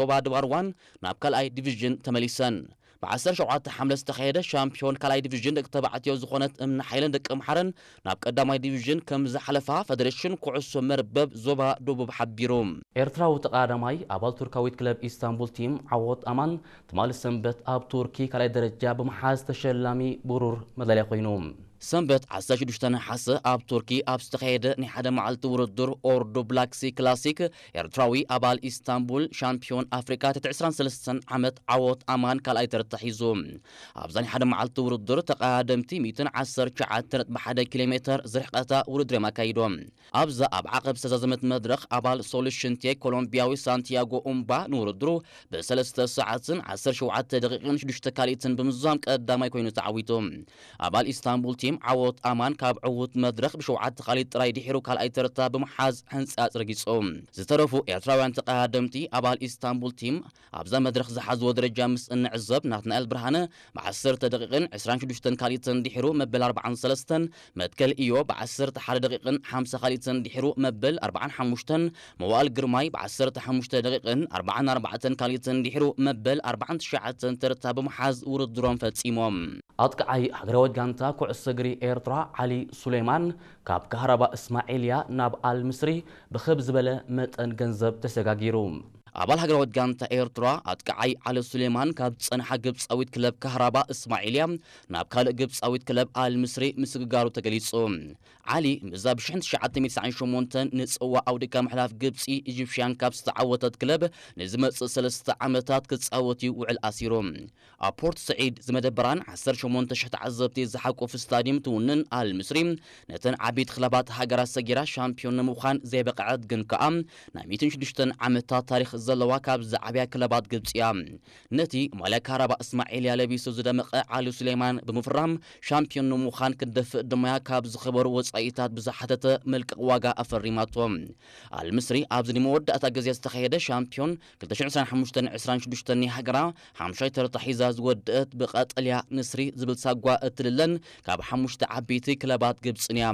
ዞባ ደባርዋን ናብ ካልኣይ ዲቪዥን ተመሊሰን። ብ ዓሰርተ ሸውዓተ ሓምለ ዝተኻየደ ሻምፒዮን ካልኣይ ዲቪዥን ደቂ ተባዕትዮ ዝኾነት እምኒ ሓይለን ደቂ ኣምሓረን ናብ ቀዳማይ ዲቪዥን ከም ዝሓለፋ ፈደሬሽን ኩዕሶ መርበብ ዞባ ደቡብ ሓቢሩ። ኤርትራዊ ተቐዳዳማይ ኣባል ቱርካዊት ክለብ ኢስታንቡል ቲም ዓወት ኣማን ትማሊ ሰንበት ኣብ ቱርኪ ካልኣይ ደረጃ ብምሓዝ ተሸላሚ ብሩር መዳልያ ኮይኑ። ሰንበት ዓሰርተ ሽዱሽተ ነሓሰ ኣብ ቱርኪ ኣብ ዝተኻየደ ናይ ሓደ መዓልቲ ውድድር ኦርዶ ብላክሲ ክላሲክ ኤርትራዊ ኣባል ኢስታንቡል ሻምፒዮን ኣፍሪካ ትሕቲ ዕስራን ሰለስተን ዓመት ዓወት ኣማን ካልኣይ ተርታ ሒዙ። ኣብዛ ናይ ሓደ መዓልቲ ውድድር ተቐዳደምቲ ሚእትን ዓሰርተ ትሽዓተ ነጥቢ ሓደ ኪሎ ሜተር ዝርሕቀታ ውድድር እዮም ኣካይዶም። ኣብዛ ኣብ ዓቐብ ዝተዛዘመት መድረኽ ኣባል ሶሉሽን ቴክ ኮሎምቢያዊ ሳንቲያጎ ኡምባ ንውድድሩ ብሰለስተ ሰዓትን ዓሰርተ ሸውዓተ ደቂቕን ሽዱሽተ ካልኢትን ብምዝዛም ቀዳማይ ኮይኑ ተዓዊቱ። ኣባል ኢስታንቡል ቲም ዓወት ኣማን ካብ ዕዉት መድረኽ ብሸውዓተ ካልኢት ጥራይ ድሒሩ ካልኣይ ተርታ ብምሓዝ ሕንጻጽ ረጊጹ። ዝተረፉ ኤርትራውያን ተቐዳደምቲ ኣባል ኢስታንቡል ቲም ኣብዛ መድረኽ ዝሓዝዎ ደረጃ ምስ እንዕዘብ ናትናኤል ብርሃነ ብ ዓሰርተ ደቂቕን ዕስራን ሽዱሽተን ካልኢትን ድሒሩ መበል ኣርባዓን ሰለስተን፣ መትከል ኢዮ ብ ዓሰርተ ሓደ ደቂቕን ሓምሳ ካልኢትን ድሒሩ መበል ኣርባዓን ሓሙሽተን፣ መዋእል ግርማይ ብ ዓሰርተ ሓሙሽተ ደቂቕን ኣርባዓን ኣርባዕተን ካልኢትን ድሒሩ መበል ኣርባዓን ትሽዓተን ተርታ ብምሓዝ ውድድሮም ፈጺሞም። ኣጥቃዓይ ሃገራዊት ጋንታ ኩዕሶ እግሪ ኤርትራ ዓሊ ሱሌማን ካብ ካህራባ እስማዒልያ ናብ ኣል ምስሪ ብኽብ ዝበለ መጠን ገንዘብ ተሰጋጊሩ። ኣባል ሃገራዊት ጋንታ ኤርትራ ኣጥቃዓይ ዓሊ ሱሌማን ካብ ዝጸንሓ ግብጻዊት ክለብ ካህራባ እስማዒልያ ናብ ካልእ ግብጻዊት ክለብ ኣል ምስሪ ምስግጋሩ ተገሊጹ። ዓሊ ምስዛ ብ ሽሕን ትሽዓተ ሚእትን ትስዓን ሸሞንተን ንጽዋ ኣውዲካ ምሕላፍ ግብጺ ኢጂፕሽያን ካፕ ዝተዓወተት ክለብ ንዝመጽእ ሰለስተ ዓመታት ክጻወት እዩ ውዕል ኣሲሩ። ኣብ ፖርት ስዒድ ዝመደበራን ዓሰርተ ሸሞንተ ሽሕ ተዓዘብቲ ዝሓቁፍ ስታድየም ትውንን ኣል ምስሪ ነተን ዓበይቲ ክለባት ሃገራት ሰጊራ ሻምፒዮን ንምዃን ዘይበቕዐት ግን ከኣ ናይ ሚእትን ሽዱሽተን ዓመታት ታሪኽ ዘለዋ ካብ ዝዓብያ ክለባት ግብጺ እያ። ነቲ ማልያ ካራባ እስማዒልያ ለቢሱ ዝደመቐ ዓሊ ሱሌማን ብምፍራም ሻምፒዮን ንምዃን ክትደፍእ ድማያ ካብ ዝኸበሩ ወጻኢታት ብዝሓተተ መልቀቕ ዋጋ ኣፈሪማቶ። ኣል ምስሪ ኣብዚ ንመወዳእታ ግዜ ዝተኻየደ ሻምፒዮን ክልተ ሽሕን ዕስራን ሓሙሽተን ዕስራን ሽዱሽተን ናይ ሃገራ ሓምሻይ ተርታ ሒዛ ዝወደአት ብቀጠልያ ንስሪ ዝብል ሳጓ እትልለን ካብ ሓሙሽተ ዓበይቲ ክለባት ግብጽን እያ።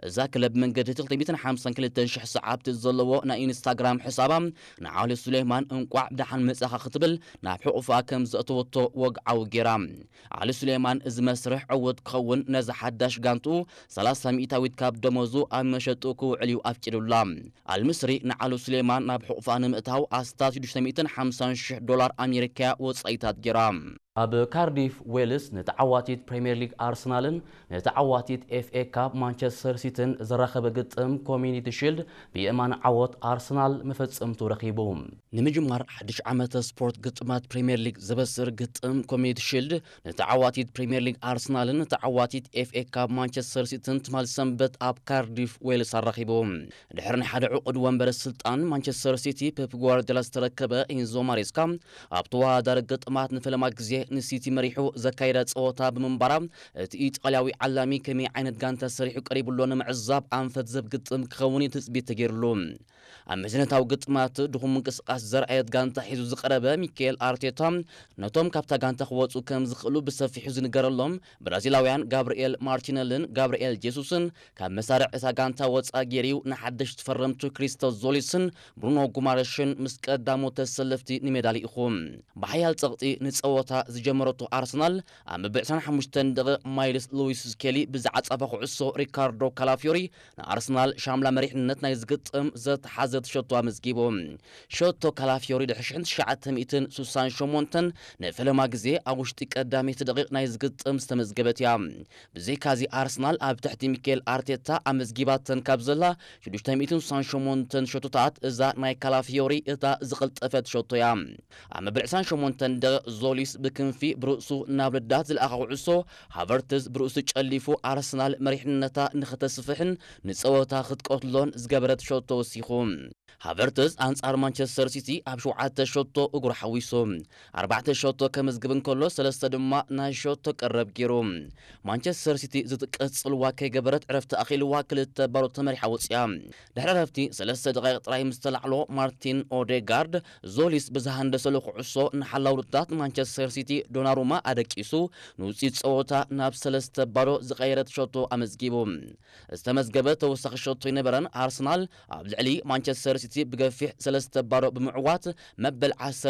እዛ ክለብ መንገዲ ክልተ ሚእትን ሓምሳን ክልተን ሽሕ ሰዓብቲ ዘለዎ ናይ ኢንስታግራም ሕሳባ ንዓሊ ሱሌማን እንቋዕ ብደሓን መጻኻ ክትብል ናብ ሕቑፋ ከም ዘእተወቶ ወግዓዊ ጌራ። ዓሊ ሱሌማን እዚ መስርሕ ዕዉት ክኸውን ነዛ ሓዳሽ ጋንትኡ ሰላሳ ሚእታዊት ካብ ደሞዙ ኣብ መሸጡ ክውዕል እዩ ኣፍቂዱላ። ኣልምስሪ ንዓሊ ሱሌማን ናብ ሕቑፋ ንምእታው ኣስታት ሽዱሽተ ሚእትን ሓምሳን ሽሕ ዶላር ኣሜሪካ ወጻኢታት ጌራ። ኣብ ካርዲፍ ዌልስ ንተዓዋቲት ፕሪምየር ሊግ ኣርሰናልን ንተዓዋቲት ኤፍ ኤ ካፕ ማንቸስተር ሲቲን ዘራኸበ ግጥም ኮሚኒቲ ሺልድ ብየማን ዓወት ኣርሰናል መፈጸምቱ ረኺቡ። ንምጅማር ሓድሽ ዓመተ ስፖርት ግጥማት ፕሪምየር ሊግ ዘበስር ግጥም ኮሚኒቲ ሺልድ ንተዓዋቲት ፕሪምየር ሊግ ኣርሰናልን ንተዓዋቲት ኤፍ ኤ ካፕ ማንቸስተር ሲቲን ትማል ሰንበት ኣብ ካርዲፍ ዌልስ ኣራኺቡ። ድሕሪ ናይ ሓደ ዕቑድ ወንበረ ስልጣን ማንቸስተር ሲቲ ፔፕ ጓርዲዮላ ዝተረከበ ኢንዞ ማሬስካ ኣብ ተወዳዳሪ ግጥማት ንፈለማ ግዜ ንሲቲ መሪሑ ዘካየዳ ጸወታ ብምንባራ እቲ ኢጣልያዊ ዓላሚ ከመይ ዓይነት ጋንታ ሰሪሑ ቀሪቡ ኣሎ ንምዕዛብ ኣንፈት ዘብ ግጥም ክኸውን እዩ ትጽቢት ተገይሩሉ። ኣብ መዝነታዊ ግጥማት ድኹም ምንቅስቃስ ዘርኣየት ጋንታ ሒዙ ዝቐረበ ሚካኤል ኣርቴታ ነቶም ካብታ ጋንታ ክወጹ ከም ዝኽእሉ ብሰፊሑ ዝንገረሎም ብራዚላውያን ጋብርኤል ማርቲነልን ጋብርኤል ጄሱስን ካብ መሳርዕ እታ ጋንታ ወጻ ገይሩ ንሓደሽቲ ፈረምቱ ክሪስቶስ ዞሊስን ብሩኖ ጉማረሽን ምስ ቀዳሞት ተሰለፍቲ ንሜዳ ልኢኹ። ብሓያል ጸቕጢ ንጸወታ ዝጀመረቶ ኣርሰናል ኣብ መበል ዕስራን ሓሙሽተን ደቂቕ ማይልስ ሉዊስ ስኬሊ ብዝዓጸፋ ኩዕሶ ሪካርዶ ካላፊዮሪ ንኣርሰናል ሻምላ መሪሕነት ናይ ዝግጥም ዘተሓዘት ሸቶ ኣመዝጊቡ። ሸቶ ካላፊዮሪ ድሕሪ ሽሕን ትሽዓተ ሚእትን ስሳን ሸሞንተን ንፈለማ ግዜ ኣብ ውሽጢ ቀዳመይቲ ደቂቕ ናይ ዝግጥም ዝተመዝገበት እያ። ብዘይካዚ ኣርሰናል ኣብ ትሕቲ ሚካኤል ኣርቴታ ኣመዝጊባተን ካብ ዘላ ሽዱሽተ ሚእትን ስሳን ሸሞንተን ሸቶታት እዛ ናይ ካላፊዮሪ እታ ዝቐልጠፈት ሸቶ እያ። ኣብ መበል ዕስራን ሸሞንተን ደቂቕ ዞሊስ ብክንፊ ብርእሱ ናብ ልዳት ዝለኣኻ ኩዕሶ ሃቨርትዝ ብርእሱ ጨሊፉ ኣርሰናል መሪሕነታ ንኽተስፍሕን ንጸወታ ክትቀትሎን ዝገበረት ሸቶ ወሲኹ። ሃቨርትዝ ኣንጻር ማንቸስተር ሲቲ ኣብ ሸውዓተ ሸቶ እግሩ ሓዊሱ ኣርባዕተ ሸቶ ከመዝግብ እንከሎ ሰለስተ ድማ ናይ ሸቶ ቀረብ ገይሩ። ማንቸስተር ሲቲ ዝትቀጽልዋ ከይገበረት ዕረፍቲ ኣኺልዋ ክልተ ባዶ ተመሪሓ ወጽያ። ድሕሪ ዕረፍቲ ሰለስተ ደቂቕ ጥራይ ምስ ተላዕሎ ማርቲን ኦዴጋርድ ዞሊስ ብዝሃንደሰሉ ኩዕሶ ንሓላው ርታት ማንቸስተር ሲቲ ዶናሩማ ኣደቂሱ ንውጽኢት ጸወታ ናብ ሰለስተ ባዶ ዝቐየረት ሸቶ ኣመዝጊቡ። ዝተመዝገበ ተወሳኺ ሸቶ ኣይነበረን። ኣርሰናል ኣብ ልዕሊ ማንቸስተር ሲቲ ብገፊሕ ሰለስተ ባዶ ብምዕዋት መበል ዓሰርተ